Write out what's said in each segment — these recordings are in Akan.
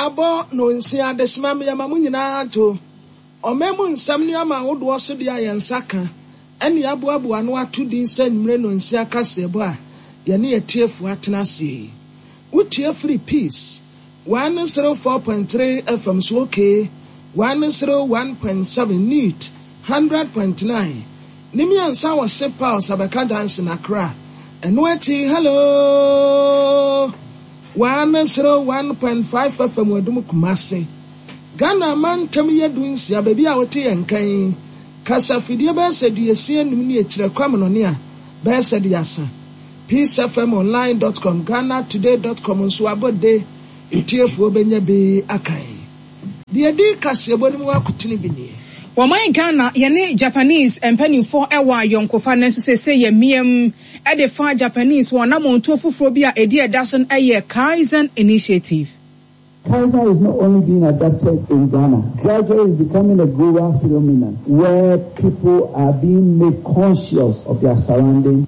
Abɔ nonsia adesima meyɛ ma mo nyinaa adwo. Ɔman mu nsɛm ne ama ahodoɔ so deɛ a yɛn nsa ka ɛne aboaboa ano ato din sɛ anwummere nonsia kaseɛbɔ a yɛne atiefoɔ atena aseɛ yi. Wotie firi Peace 104.3 FM so okay 101.7 Neat 100.9 ne mmiɛnsa wɔ Sepa Ɔsabɛka Junction Accra. Ɛno akyi hello 101.5 FM Adum Kumase. Ghana amantam yɛ 16 baabi a wote yɛn kan. Kasafidie bɛyɛ sɛ 65 ne akyirɛ kwamonɔne a bɛyɛ sɛ 30. peacefmonline.com, ghanatoday.com nso abɔde etiefoɔ bɛnya bi akan. Deɛ di kaseɛbɔ no mu akotene bi nie. Wɔman Ghana yɛne Japanese mpanimfoɔ wɔ ayɔnkofa nanso seesei yɛ mmeam de fa Japanese wɔn anammɔntuo foforɔ bi a ɛdi ɛda so no yɛ Kaizen Initiative. Kaizen is not only being adopted in Ghana, gradually it's becoming a global phenomenon where people are being made conscious of their surroundings.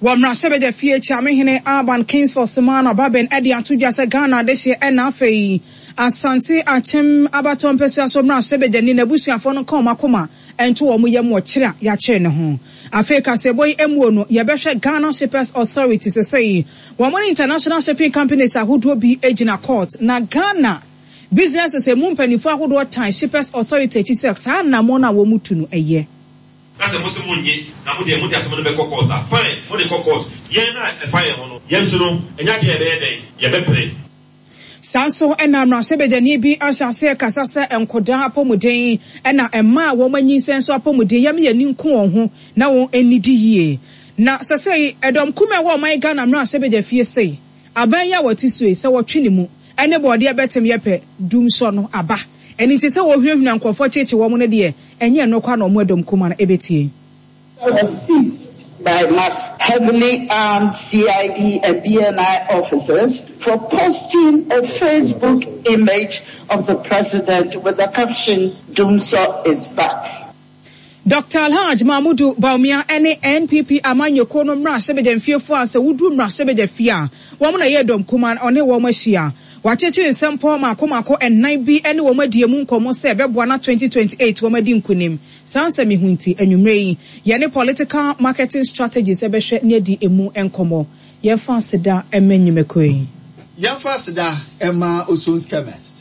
Wɔ mmarahyɛbadwa fie Kyeamehene Alban Kingsford Sumana Bagbin de ato dwa sɛ Ghana adehyeɛ ɛna afei Asante Akyem abatoɔ mpɛsua so mmarahyɛbadwani n'abusuafoɔ no nka wɔn akoma nto wɔn yam wɔ kyere a yɛakyere ne ho. Afei kaseɛbɔ yi mmuo no yɛbɛhwɛ Ghana Shippers Authority sesei wɔn ne International Shipping Companies ahodoɔ bi gyina court na Ghana Businesses emu mpanimfoɔ ahodoɔ tan Shippers Authority akyi sɛ saa anammɔn no a wɔtu no ɛyɛ. Na sɛ mose monnye, na mo deɛ mode asɛm no bɛkɔ court a, fine, mode kɔ court. Yɛn a ɛfa yɛn ho no, yɛn nso no, ɛnyɛ adeɛ a yɛbɛyɛ dɛn? Yɛbɛpere. Saa nso na mmarahyɛbadwani bi ahyɛ aseɛ rekasa sɛ nkɔdaa apɔmuden na mmaa a wɔanyinsɛn nso apɔmuden yɛma yɛn ani nku wɔn ho na wɔn nnidi yie. Na sɛsɛi ɛdɔm kumaa a ɛwɔ ɔman Ghana mmarahyɛbadwa fie sei, aban yi a wɔte so yi, sɛ wɔtwe ne mu ne bɔɔdeɛ bɛtem yɛ pɛ, dumsɔ no aba. Ɛno nti sɛ wɔhunahuna nkurɔfoɔ kyeekye wɔn no deɛ, ɛnyɛ ɛno koraa na wɔn ɛdɔm kumaa no bɛtie. Was seized by mass heavily armed CID and BNI officers for posting a Facebook image of the president with the caption, Dumsor is back. Dɔkta Alhaj Mahmudu Bawumia ne NPP amanyɔkuo no mmarahyɛbadwamfiefoɔ a sɛ woduru mmarahyɛbadwafie a wɔn na ɛyɛ dɔm kumaa no ɔne wɔn ahyia. Wakyekyere nsɛmpɔ mmaako mmaako nnan bi ne wɔn adi emu nkɔmmɔ sɛ ɛbɛboa na 2028 wɔn adi nkunim. Saa nsɛm yi ho nti, anwummerɛ yi yɛne Political Marketing Strategist bɛhwɛ ne adi emu nkɔmmɔ. Yɛmfa aseda mma nnwumakuo yi. Yɛmfa aseda mma Oson's Chemist.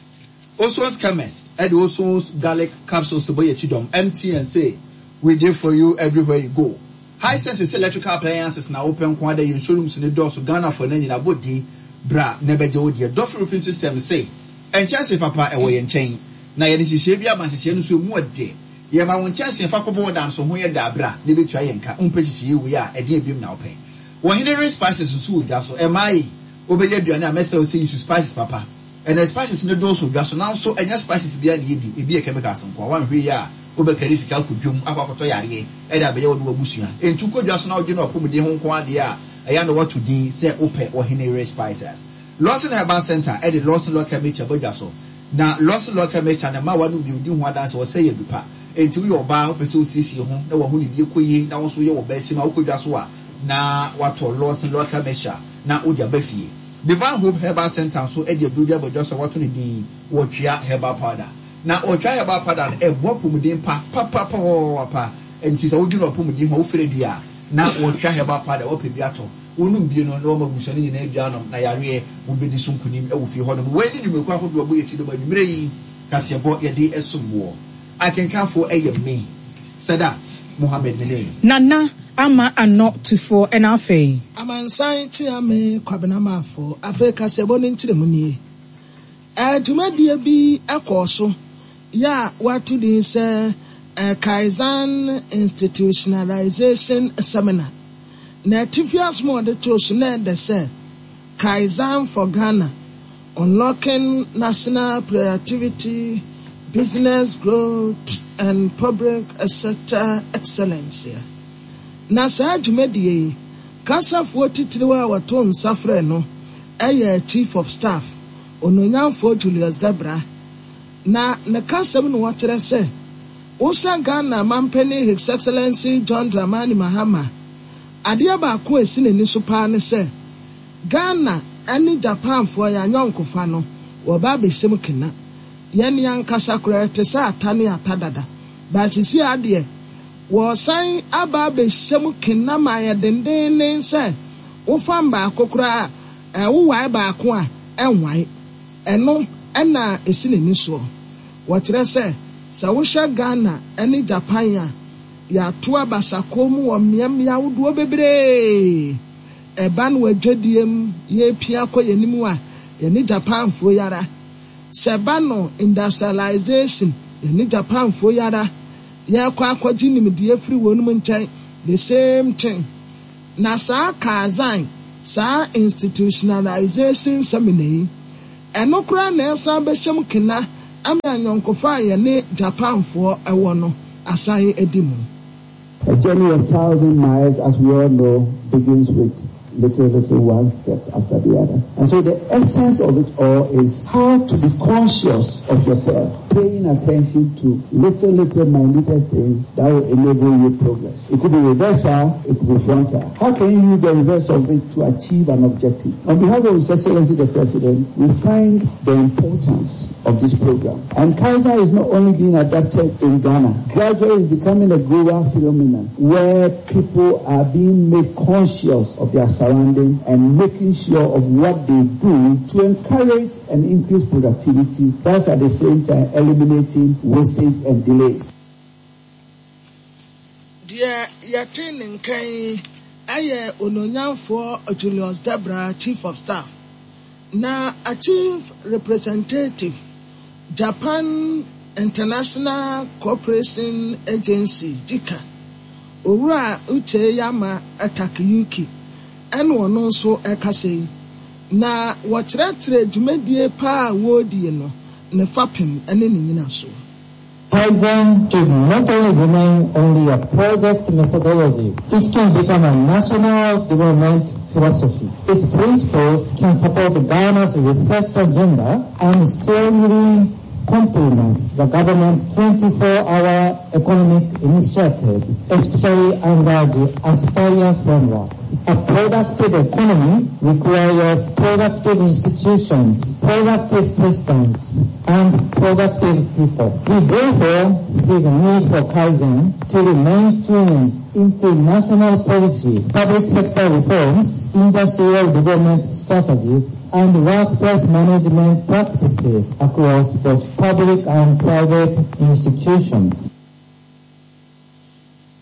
Oson's Chemist de Oson's Garlic Capsules bɔ yɛn akyi dɔm. MTN se, We dey for you everywhere you go. Hisense se electrical appliances na wopɛ nko ara dɛ yɛn showrooms no dɔɔso Ghana fo na nyina bɔ din bra na bɛgye wo deɛ. Duffy Roofing Systems se, Nkyɛnse papa ɛwɔ yɛn nkyɛn na yɛde nhyehyɛe bi aba nhyehyɛe no nso emu ɔdɛ. Yɛma wo nkyɛnse fa kɔbɔ wo dan so ho yɛ dɛ a bra na bɛtua yɛn ka. Wompɛ nhyehyɛe wei a ɛdeɛn biom na wopɛ? Ɔhene Ray Spices nso wɔ dwa so. Ɛmaa ei, wobɛyɛ aduane a mɛsrɛ wo sɛ use spices papa. Ɛnɛ spices no dɔɔso dwa so nanso ɛnyɛ spices biara na yɛdi, ebi yɛ chemicals nkoa. Woanhwɛ yie a wobɛkari sika akɔ dwam akɔ akɔtɔ yareɛ de abɛyɛ wo ne w'abusua. Enti wokɔ dwa so na wodwene w'apɔmuden ho nko ara deɛ a, ɛyɛ a na woato din sɛ wopɛ Ɔhene Yere Spices. Lawson Herbal Centre de Lawson Local Mixture ba dwa so. Na Lawson Local Mixture no mma w'anom bio di ho adanse ɔsɛe yɛ adu pa. Enti woyɛ ɔbaa a wopɛ sɛ wosiesie ho na w'ahonidie kɔ yie na wo nso woyɛ ɔbaa sim a wokɔ dwa so a na woatɔ Lawson Local Mixture na wode aba fie. Divine Hope Herbal Centre nso de aduro bi aba dwa so a wɔato no din Wɔtwea Herbal Powder. Na Wɔtwea Herbal Powder no, ɛboa apɔmuden pa papapapapapa. Enti sɛ wodwene w'apɔmuden ho a, wofrɛ bi a, na Wɔtwea Herbal Powder, woapɛ bi atɔ. Wonom bi no, na wɔama abusua no nyinaa bi anom, na yareɛ, wobɛdi so nkonim wɔ fie hɔnom. Wei ne nnwumakuo ahodoɔ a ɛbɔ yɛn akyi dɔm anwummerɛ yi kaseɛbɔ yɛde som woɔ. Akenkanfoɔ yɛ me, Sadat Mohammed me ne. Nana Ama Anɔ Tufoɔ ɛna afei. Amansan Kyeame Kwabena Marfo afei kaseɛbɔ no nkyerɛmu nie. Dwumadie bi kɔɔ so yɛ a wɔato din sɛ Kaizen Institutionalization Seminar. Na atifi asɛm a wɔde too so na ɛda sɛ Kaizen for Ghana, Unlocking National Productivity, Business Growth and Public Sector Excellence. Na saa dwumadie yi, kasafoɔ titiriw a wɔtoo nsa frɛɛ no yɛ Chief of Staff, Onuonyamfoɔ Julius Debrah. Na ne kasam no wɔkyerɛ sɛ, wohyɛ Ghana manpanin His Excellency John Dramani Mahama, adeɛ baako a ɛsi n'ani so paa ne sɛ, Ghana ne Japanfoɔ yɛn ayɔnkofa no, Wɔba abɛhyɛ mu kena. Yɛn ankasa koraa yɛte sɛ ata ne ata dada. But seesei ara deɛ, wɔresan aba abɛhyɛ mu kena ma ayɛ dendenden sɛ wofam baako koraa a, wowae baako a, ɛnwae. Ɛno na ɛsi n'ani soɔ. Wɔkyerɛ sɛ, sɛ wohwɛ Ghana ne Japan a, yɛato abasakɔ mu wɔ mmeammea ahodoɔ bebree. Ɛba no adwadie mu, yɛrepia kɔ yɛn anim a, yɛne Japanfoɔ yi ara. Sɛ ɛba no industrialization, yɛne Japanfoɔ yi ara. Yɛrekɔ akɔgye nimdeɛ firi wɔnom nkyɛn, the same thing. Na saa Kaizen, saa institutionalization seminar yi, ɛno koraa na ɛsan bɛhyɛ mu kena ama ayɔnkofa a yɛne Japanfoɔ wɔ no asan adi mu. A journey of 1,000 miles, as we all know, begins with little, little one step after the other. And so the essence of it all is how to be conscious of yourself, paying attention to little, little minute things that will enable you progress. It could be reversal, it could be frontal. How can you use the reverse of it to achieve an objective? On behalf of His Excellency the President, we find the importance of this program. And Kaiser is not only being adapted in Ghana, gradually it's becoming a global phenomenon where people are being made conscious of their surrounding and making sure of what they do to encourage and increase productivity, whilst at the same time eliminating wastage and delays. Deɛ yɛte ne nka yi yɛ Onuonyamfoɔ Julius Debrah, Chief of Staff, na Chief Representative, Japan International Cooperation Agency, JICA, Owura Uchiyama Takayuki ɛna ɔno nso ɛkasa yi. Na wɔkyerɛkyerɛ dwumadie pa a wɔredie no ne fapem ne ne nyinasoɔ. Kaizen should not only remain only a project methodology, it can become a national development philosophy. Its principles can support Ghana's research agenda and strongly complement the government's 24-hour economic initiative, especially under the Aspire framework. A productive economy requires productive institutions, productive systems, and productive people. We therefore see the need for Kaizen to be mainstreamed into national policy, public sector reforms, industrial development strategies, and workplace management practices across both public and private institutions.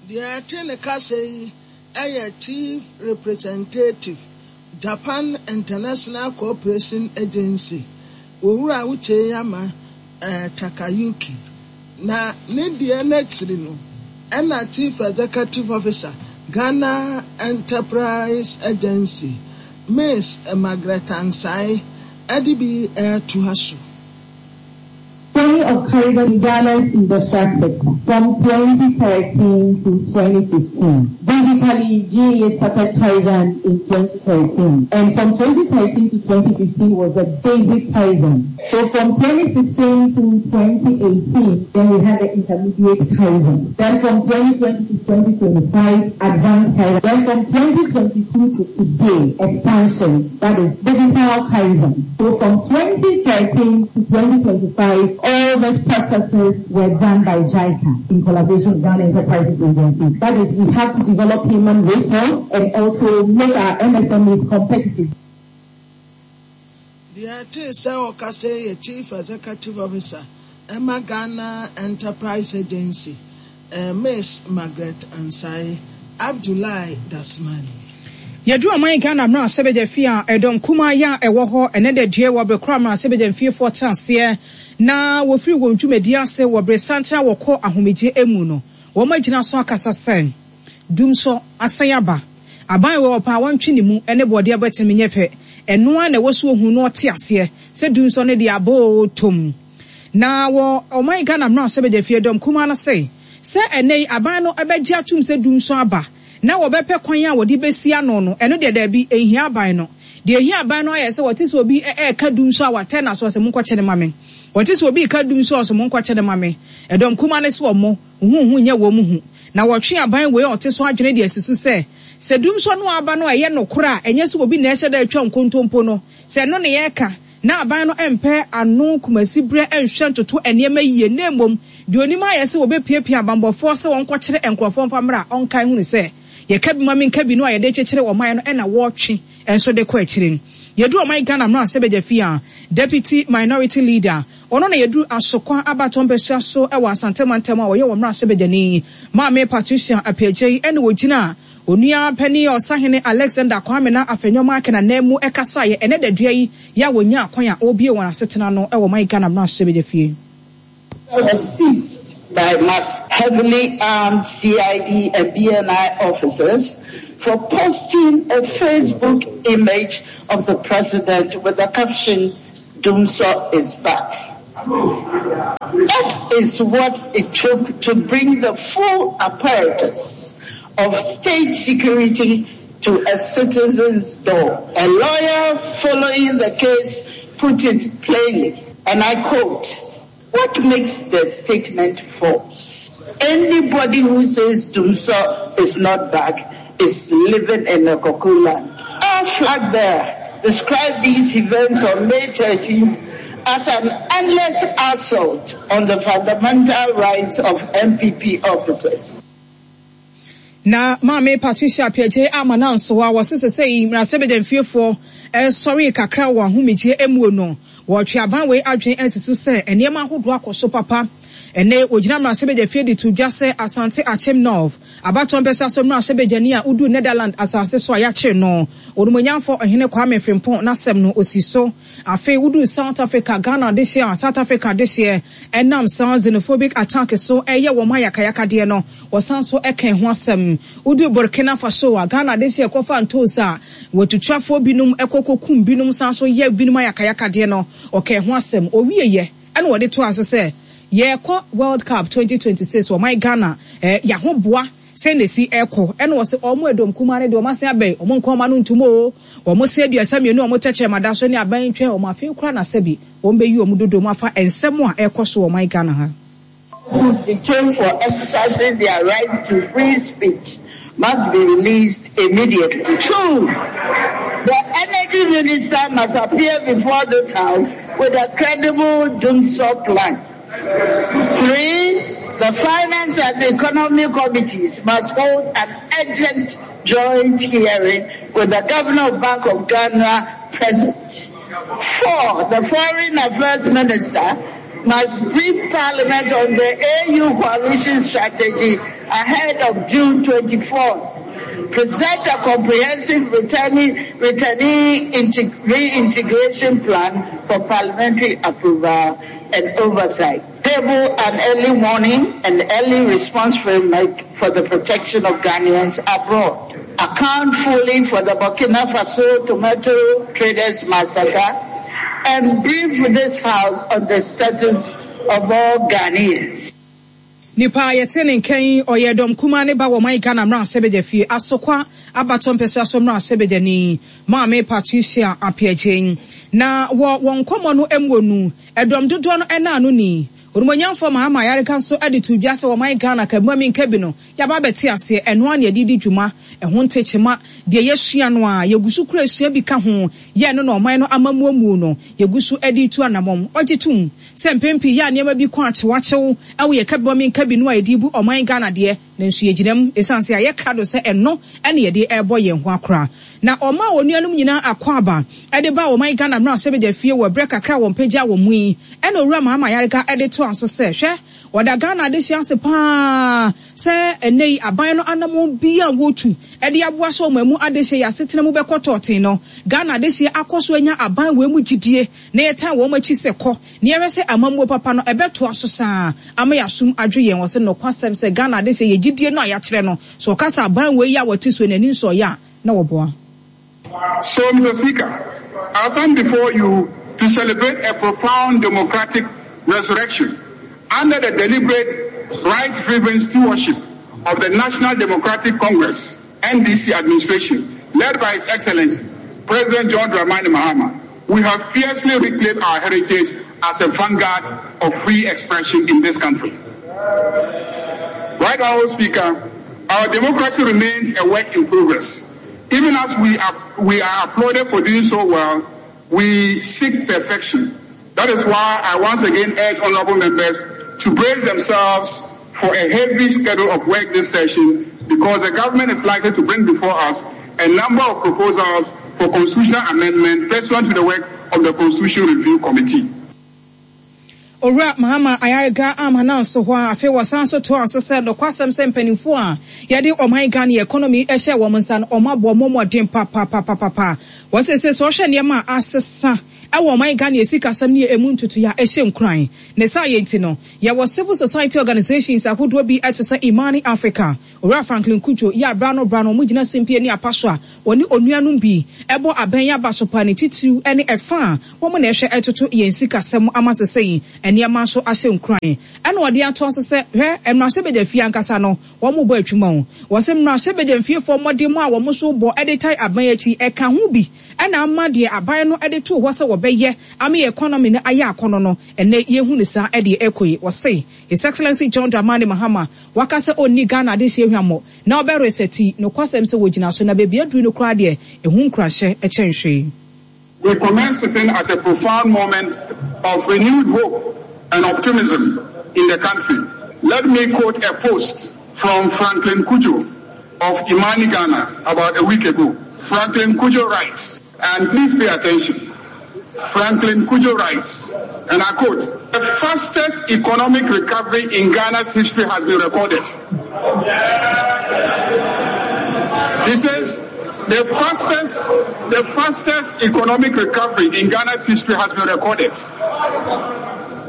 Deɛ ɛte ne kasa yi yɛ Chief Representative, Japan International Cooperation Agency, Owura Uchiyama Takayuki. Na ne deɛ no akyiri no ɛna Chief Executive Officer, Ghana Enterprise Agency, Miss Margaret Ansai de bi retoa so. Journey of Kaizen in Ghana's industrial sector from 2013 to 2015. Basically, GAA started Kaizen in 2013. And from 2013 to 2015 was the basic Kaizen. So from 2016 to 2018, then we had the intermediate Kaizen. Then from 2020 to 2025, advanced Kaizen. Then from 2022 to today, expansion, that is digital Kaizen. So from 2013 to 2025, all these processes were done by JICA in collaboration with Ghana Enterprises Agency. That is, we have to develop human resource and also make our MSMEs competitive. Deɛ ɛtee sɛ ɔkasa yi yɛ Chief Executive Officer ma Ghana Enterprise Agency, Miss Margaret Ansai Abdullahi Dasmani. Yɛduru ɔman Ghana mmarahyɛbadwa fie a ɛdɔm kumaa yi a ɛwɔ hɔ ɛnɛ da due wɔ bere koro a mmarahyɛbadwa mfiefoɔ te aseɛ na wɔfiri wɔn dwumadie ase wɔ bere santene a wɔkɔ ahomegye mu no, wɔn agyina so akasa sɛ dumsɔ asan aba. Aban wei ɔpɛ a wɔntwe ne mu ne bɔɔdeɛ abɛtem nyɛ pɛ. Ɛno ara na ɛwɔ sɛ ɔhunu na ɔte aseɛ sɛ dumsɔ no deɛ abɔ oo tom. Na wɔ ɔman Ghana mmarahyɛbadwafie dɔm kumaa no se, sɛ ɛnnɛ yi aban no bɛgye atom sɛ dumsɔ aba na wɔbɛpɛ kwan a wɔde bɛsi ano no, ɛno deɛ daabi, ɛnhia aban no. Deɛ ɛhia aban no ara yɛ sɛ wɔte sɛ obi reka dumsɔ a watɛn n'aso ɔse monkɔkye no ma me. Wɔte sɛ obi reka dumsɔ a ɔse monkɔkye no ma me. Ɛdɔm kumaa no se wɔmmɔ huhuhu nyɛ wɔn hu. Na wɔtwe aban wei a ɔte so adwene de asi so sɛ, sɛ dumsɔ no aba no a ɛyɛ nokorɛ a ɛnyɛ sɛ obi na ɛhyɛ da retwa nkontompo no, sɛ ɛno na yɛreka. Na aban no mpɛ ano Kumasi berɛ nhwɛ ntoto nneɛma yie na mmom deɛ onim ayɛ sɛ wɔbɛpiapia abanbɔfoɔ sɛ wɔnkɔkyere nkorɔfoɔ mfa mmra ɔnkae hunu sɛ yɛka bi ma menka bi no a yɛde kyekyere ɔman no na wɔretwe nso de kɔ akyire. Yɛduru ɔman Ghana mmarahyɛbadwafie a Deputy Minority Leader ɔno na yɛduru Asokwa abatoɔ mpasua so wɔ Asante mantam a ɔyɛ wɔn mmarahyɛbadwani Maame Patricia Appiagyei ɛna ɔgyina Onua panin Ɔsahene Alexander Kwame na Afenyo Markin ananmu kasaeɛ ɛnɛ dadua yi yɛ a wɔnyaa kwan a wɔrebue wɔn asetena no wɔ ɔman Ghana mmarahyɛbadwafie. Was seized by mass heavily armed CID and BNI officers for posting a Facebook image of the president with the caption, Dumsor is back. That is what it took to bring the full apparatus of state security to a citizen's door. A lawyer following the case put it plainly, and I quote, What makes the statement false? Anybody who says Dumsor is not back is living in a cuckoo land. Our flag bearer described these events on May 13th as an endless assault on the fundamental rights of NPP officers. Na Maame Patricia Appiagyei ama no ansoa wɔse sesei mmarahyɛbadwamfiefoɔ sɔree kakra wɔ ahomegyeɛ muo no, wɔretwe aban wei adwene asi so sɛ nneɛma ahodoɔ akɔ so papa. Ɛnnɛ wɔgyina mmarahyɛbadwafie de to dwa sɛ Asante Akyem North abatoɔ mpɛsoa so mmarahyɛbadwani a woduu Netherland asase so a yɛakyere no, Onumonyamfoɔ Ɔhene Kwame Frimpong n'asɛm no ɔsi so. Afei woduu South Africa, Ghana dehyeɛ a South Africa dehyeɛ ɛnam saa xenophobic attack so ɛyɛ wɔn ayakayakadeɛ no, wɔsan nso ɛka ɛho asɛm. Woduu Burkina Faso a Ghana dehyeɛ kɔfa ntoosi a wɔatutwafoɔ binom kɔ kɔkum binom san nso yɛ binom ayakayakadeɛ no, ɔka ɛho asɛm. Ɔwieɛ ɛna ɔde toaa so sɛ, Yɛrekɔ World Cup 2026 wɔ ɔman Ghana, yɛahoboa Sɛn na esi ɛkɔ? Ɛna ɔse ɔmo ɛdɔm kumaa no deɛ ɔmo asen abɛn ɔmo nka ɔmo ano ntom oo, ɔmo se 32 a ɔmo tɛkyerɛma da so ne aban ntwɛn ɔmo afei koraa na sɛbi wɔn bɛyi ɔmo dodoɔ mu afa nsɛm a ɛkɔ so wɔ ɔman Ghana ha. Persons detained for exercising their right to free speech must be released immediately. Two, the energy minister must appear before this house with a credible dumsor plan. Three, the Finance and Economy Committees must hold an urgent joint hearing with the Governor of Bank of Ghana present. Four, the Foreign Affairs Minister must brief Parliament on the AU coalition strategy ahead of June 24th. Present a comprehensive returnee, returnee reintegration plan for parliamentary approval and oversight. Table an early warning and early response framework for the protection of Ghanaians abroad. Account fully for the Burkina Faso tomato traders massacre and brief this house on the status of all Ghanaians. Nipa a yɛte ne nka yi, ɔyɛ dɔm kumaa ne ba wɔ ɔman Ghana mmarahyɛbadwafie, Asokwa abatoɔ mpɛsoa so mmarahyɛbadwani, Maame Patricia Appiagyei. Na wɔ wɔn nkɔmmɔ no muo no, ɛdɔm dodoɔ no ɛna ano ni. Onimonyamfoɔ Mahama Ayariga nso de too dwa sɛ ɔman Ghana ka bi ma menka bi no, yɛaba abɛte aseɛ, ɛno ara na yɛde redi dwuma, ɛho ntekyema, deɛ yɛasua no ara, yɛgu so kura sua bi ka ho, yɛ ɛno na ɔman no amammuo muo no, yɛgu so de retu anamɔn. Ɔgye tom sɛ mpɛn pii yɛ a nneɛma bi kɔ akyewakyew wɔ yɛn kabima menka bi no a yɛde rebu ɔman Ghana deɛ, nanso yɛgyina mu ɛsiane sɛ yɛayɛ krado sɛ ɛno na yɛde rebɔ yɛn ho akora. Na ɔmaa wɔn nuanom nyinaa akwaaba de baa ɔman Ghana mmarahyɛbadwa fie wɔ berɛ kakra a wɔn pagyaa wɔn mu yi. Ɛna Owura Mahama Ayariga de toaa so sɛ, Hwɛ, wɔda Ghana adehyeɛ ase pa ara sɛ ɛnnɛ yi aban no anammɔn biara a wɔretu de aboa sɛ ɔman mu adehyeɛ yɛ asetena mu bɛkɔ tɔɔten no, Ghana adehyeɛ akɔ so anya aban wei mu gyidie na yɛtan wɔn akyi sɛ kɔ na yɛhwɛ sɛ amammuo papa no ɛbɛtoa so saa ama yɛasom adwo yɛn. Ɔse nokwasɛm sɛ Ghana adehyeɛ yɛ gyidie no a yɛakyerɛ no, sɛ ɔka sɛ aban wei yi a wɔte so yi n'ani nsɔ yɛ a, na wɔboa. So, Mr. Speaker, I stand before you to celebrate a profound democratic resurrection under the deliberate, rights-driven stewardship of the National Democratic Congress, NDC administration, led by His Excellency, President John Dramani Mahama. We have fiercely reclaimed our heritage as a vanguard of free expression in this country. Right Honorable Speaker, our democracy remains a work in progress. Even as we are, we are applauded for doing so well, We seek perfection. That is why I once again urge honorable members to brace themselves for a heavy schedule of work this session because the government is likely to bring before us a number of proposals for constitutional amendment pursuant to the work of the Constitution Review Committee. Owura Mahama Ayariga amma no anso hɔ a, afei wɔsan nso toaa so sɛ, Nokwasɛm sɛ mpanimfoɔ a yɛde ɔman Ghana economy hyɛɛ wɔn nsa no, wɔabɔ wɔn mmɔden papapapapa. Wɔ seesei sɛ wohwɛ nneɛma a asesa wɔ ɔman Ghana sikasɛm ne ɛmu ntotoeɛ a ɛhyɛ nkuran. Ne saa yɛ nti no, yɛwɔ civil society organisations ahodoɔ bi te sɛ Imani Africa, Owura Franklin Cudjoe, yɛ a berɛ ano berɛ ano wɔgyina simpie ne apa so a wɔne onuanom bi bɔ abɛn yɛ aba so paa ne titiriw ne ɛfa a wɔn na ɛhwɛ ɛtoto yɛn sikasɛm ama sesei nneɛma nso ahyɛ nkuran. Ɛna ɔde atoa so sɛ, Hwɛ, mmarahyɛbadwafie ankasa no, wɔrebɔ adwuma o. Wɔse mmarahyɛbadwamfiefoɔ mmɔdemmɔ a wɔn nso bɔ de tae aban akyi, ɛka ho bi na ama deɛ aban no de too hɔ sɛ wɔbɛyɛ ama yɛn economy no ayɛ akɔnnɔ no, ɛnnɛ yɛhu no saa deɛ ɛrekɔ yi. Wɔse His Excellency John Dramani Mahama waka sɛ ɔnni Ghana adehyeɛ hwammɔ na ɔbɛ resɛti, nokwasɛm sɛ wɔgyina so na baabi aduru no koraa deɛ ɛho nkuranhyɛ kyɛn hwee. We commence sitting at a profound moment of renewed hope and optimism in the country. Let me quote a post from Franklin Cudjoe of Imani, Ghana, about a week ago. Franklin Cudjoe writes, and please pay attention. Franklin Cudjoe writes, and I quote, The fastest economic recovery in Ghana's history has been recorded. He says, the fastest, the fastest economic recovery in Ghana's history has been recorded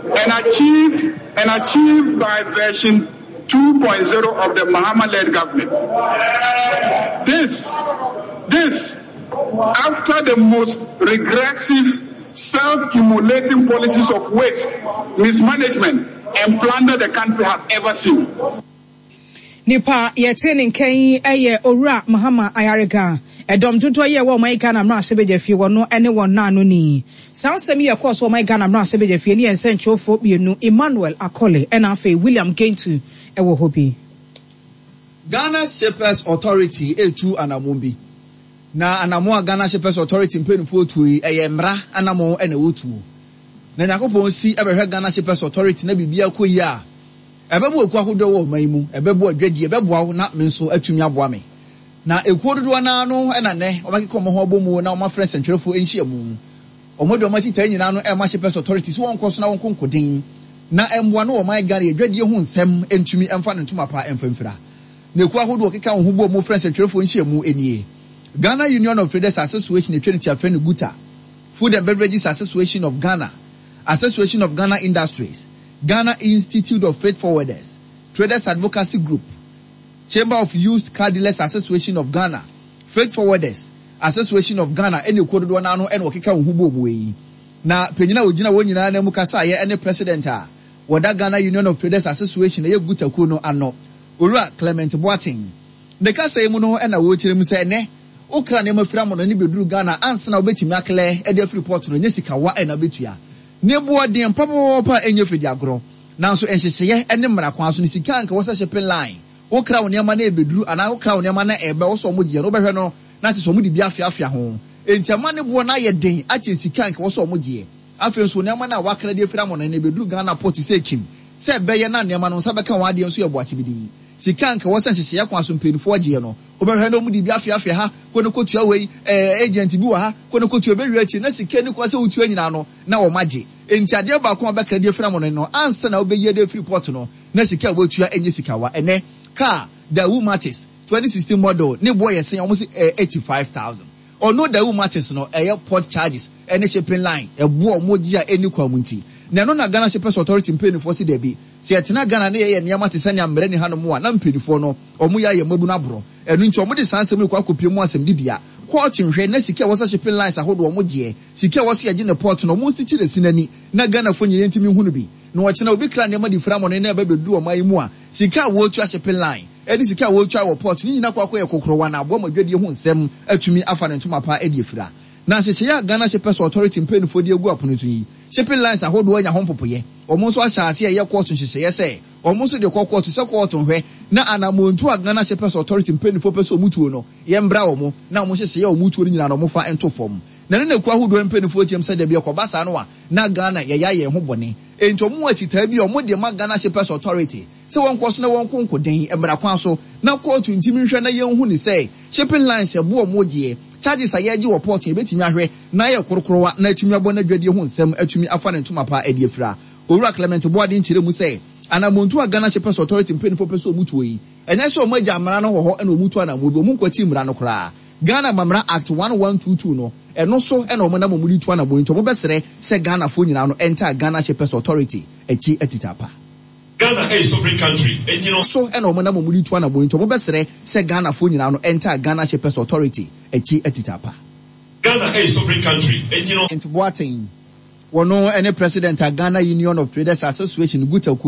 and achieved and achieved by version 2.0 of the Mahama-led government. This, this, after the most regressive, self-immolating policies of waste, mismanagement, and plunder the country has ever seen. Nipa a yɛtee ne nka yi yɛ Owura Mahama Ayariga. Ɛdɔm dodoɔ yi a ɛwɔ ɔman Ghana mmarahyɛbadwafie wɔ no ne wɔn naanoni. Saa nsɛm yi a ɛkɔɔ so wɔ ɔman Ghana mmarahyɛbadwafie ne yɛn nsɛnkyerɛwfoɔ mmienu Emmanuel Akole ɛna afei William Gentu wɔ hɔ bi. Ghana Shippers Authority retu anamon bi. Na anamon a Ghana Shippers Authority mpaninfoɔ retuo yi, ɛyɛ mmara anamon na wɔretuo. Na Nyankopɔn si bɛhwɛ Ghana Shippers Authority na biribiara kɔ yie a, Ɛbɛboa ekuo ahodoɔ wɔ ɔman yi mu, ɛbɛboa adwadie, ɛbɛboa wo na me nso atumi aboa me. Na ekuo dodoɔ no ara no na nnɛ wɔakeka wɔn ho abɔ mu na wɔafrɛ nsɛntwerɛfoɔ nhyiamu. Wɔde wɔn akyitaeɛ nyinaa no rema Shippers Authority sɛ wɔnkɔ so na wɔnko nkoden na mmoa no wɔ ɔman Ghana adwadie ho nsɛm ntumi mfa ne ntoma pa mfa mfira. Na ekuo ahodoɔ wɔkeka wɔn ho bɔ mu frɛ nsɛntwerɛfoɔ nhyiamu nie, Ghana Union of Traders Association atwa ne ti afrɛ no GUTA, Food and Beverages Association of Ghana, Association of Ghana Industries, Ghana Institute of Freight Forwarders, Traders Advocacy Group, Chamber of Used Car Dealers Association of Ghana, Freight Forwarders Association of Ghana ne ekuo dodoɔ no ara no na wɔkeka wɔn ho bɔɔ mu yi. Na panyin a ɔgyina wɔn nyinaa nan mu kasaeɛ ne President a wɔda Ghana Union of Traders Association ɛyɛ GUTA kuo no ano, Owura Clement Boateng. Ne kasa yi mu no na ɔrekyerɛ mu sɛ ɛnnɛ wokra nneɛma firi amanɔne bɛduru Ghana ansa na wobɛtumi aklɛ de afiri port no ɛnyɛ sikawa na wobɛtua. Ne boɔ den papapaapa a ɛnyɛ fɛ di agorɔ. Nanso nhyehyɛeɛ ne mmara kwan so no sika a anka ɛwɔ sɛ shipping line wokra wo nneɛma na ɛbɛduru anaa wokra wo nneɛma na ɛba ɛwɔ sɛ wɔgyeɛ no wobɛhwɛ no na kyerɛ sɛ wɔde bi afeafea ho. Enti ama ne boɔ no ayɛ den akyɛn sika a anka ɛwɔ sɛ wɔgyeɛ. Afei nso nneɛma no a wakra de afiri amɔnɔne no ɛbɛduru Ghana port sɛ kim sɛ ɛbɛyɛ na nneɛma no nsa bɛka wɔn adeɛ nso yɛ boakyebidii. Sika a anka ɛwɔ sɛ nhyehyɛeɛ kwan so mpaninfoɔ gyeɛ no wobɛhwɛ na wɔde bi afeafea ha kɔ no kɔtua wei ɛɛ agent bi wɔ ha kɔ no kɔtua ɛbɛwie akyire na sika nni kwan sɛ wotua nyinaa no na wɔagye. Enti adeɛ baako a wobɛkra de afiri amɔnɔne no ansa na wobɛyi de afiri port no na sika a woatua nyɛ sikawa. Ɛnnɛ car Daewoo Matiz 2016 model ne boɔ yɛ sɛn a wɔse ɛyɛ 85,000. Ɔno Daewoo Matiz no ɛyɛ port charges ne shipping line ɛboɔ a wɔgye a ɛnni kwan mu nti. Na ɛno na Ghana Shippers Authority mpaninfoɔ se dabi, sɛ yɛtena Ghana na yɛyɛ nneɛma te sɛ nea mmara nni hanom a na mpaninfoɔ no wɔyɛ ayɛ mmabunu aborɔ. Ɛno nti wɔde saa nsɛm yi kɔ akɔpue mu asɛmdibea, kɔɔto nhwɛ na sika a ɛwɔ sɛ shipping lines ahodoɔ wɔgyeɛ, sika a ɛwɔ sɛ yɛgye ne port no wɔnsikyire si n'ani na Ghanafoɔ nyinaa ntumi nhu no bi. Na ɔkyena obi kra nneɛma de firi amɔne na ɛba bɛduru ɔman yi mu a, sika a wɔretua shipping line ne sika a wɔretua wɔ port no nyinaa kɔ akɔyɛ kokorowa na aboa ma dwadie ho nsɛm atumi afa ne ntoma pa de afira. Na nhyehyɛeɛ a Ghana Shippers Authority mpaninfoɔ de agu apono so yi, shipping lines ahodoɔ anya ho mpopoeɛ. Wɔn nso ahyɛ aseɛ reyɛ kɔɔto nhyehyɛeɛ sɛ wɔn nso de kɔ kɔɔto sɛ kɔɔto nhwɛ na anammɔntuo a Ghana Shippers Authority mpaninfoɔ pɛ sɛ wɔtuo no, yɛmbra wɔn na wɔn nhyehyɛeɛ a wɔtuo no nyinaa no wɔmfa nto fam. Na ɛno na ekuo ahodoɔ mpaninfoɔ team sɛ dabi ɛkɔba saa no a na Ghana yɛyɛ ayɛ yɛn ho bɔne. Enti wɔn wɔ akyitaa bi a wɔn de ma Ghana Shippers Authority sɛ wɔnkɔ so na wɔnko nkoden mmara kwan so na kɔɔto ntimi nhwɛ na yɛnhu no sɛ shipping lines ɛboɔ wɔn gyeɛ, charges a yɛgye wɔ port no yɛbɛtumi ahwɛ na ayɛ korokorowa na atumi abɔ n'adwadie ho nsɛm atumi afa ne ntoma pa de afira. Owura Clement Boadin kyerɛ mu sɛ anamontuo a Ghana Shippers Authority mpaninfoɔ pɛ sɛ wɔn tuo yi, ɛnyɛ sɛ wɔn agya mmara no wɔ hɔ na wɔn tu anamoɔ bi, wɔn nkwatii mmara no koraa. Ghana Amammerɛ Act 1122 no, ɛno so na wɔn nam wɔn de tu anammɔn yi nti wɔbɛsrɛ sɛ Ghanafoɔ nyinaa no ntaa Ghana Shippers Authority akyi atitaapa. Ghana ɛyɛ sovereign country nti no. So na wɔn nam wɔn de tu anammɔn yi nti wɔbɛsrɛ sɛ Ghanafoɔ nyinaa no ntaa Ghana Shippers Authority akyi atitaapa. Ghana ɛyɛ sovereign country nti no. Boateng, wɔno ne President a Ghana Union of Traders Association, GUTA, kuo.